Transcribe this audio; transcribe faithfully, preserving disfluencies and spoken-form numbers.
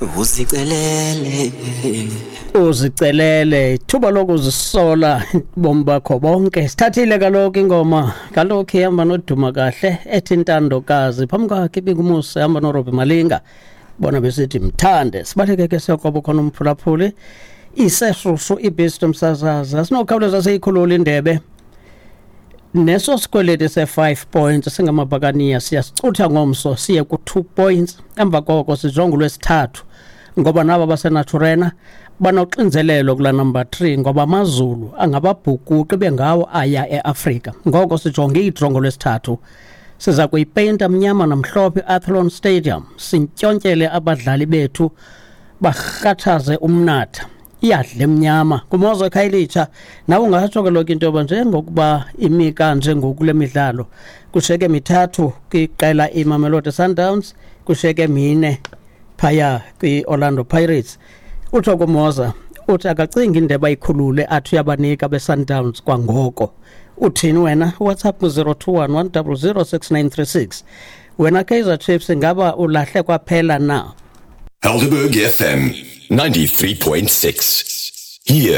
Uzicelele. Uzicelele ithuba lokuzisola bomi bakho bonke. Sithathile kaloku ingoma kaloku ihamba noduma kahle ethi Intandokazi, phambi kwakhe ibingumusa ihamba noRobbie Malinga, bona besithi Mthande. Sibaleke ke siyokoba khona umphulaphuli, iseshushu ibhisti msasaza, sinokhawuleza seyikhulula indebe neso sikweleti se-five points singamabhakaniya siyasicutha ngomso siye ku-two points. Emva koko sijonge ulwesithathu ngoba nabo baseNaturena banoxinzelelo kula number three ngoba AmaZulu angababhukuqi bengawo aya e-Afrika. Ngoko sijonge idraw ngolwesithathu, siza kuyipeyinta mnyama namhlophe i-Athlone Stadium, sintyontyele abadlali bethu barhathaze umnatha iyadla emnyama kumozo eKhayelitsha. Nawe ungatsho kaloku into yoba njengokuba imi kanje ngoku kule midlalo, kushiyeke mithathu kwiqela iMamelodi Sundowns, kushiyeke mine phaya kwi-Orlando Pirates. Utsho kumoza uthi akacingi indebe ayikhulule athi uyabanika be-Sundowns kwangoko. Uthini wena? WhatsApp ku-zero two one one zero zero six nine three six. Wena Kaizer Chiefs, ingaba ulahle kwaphela na? Helderberg F M ninety-three point six. Here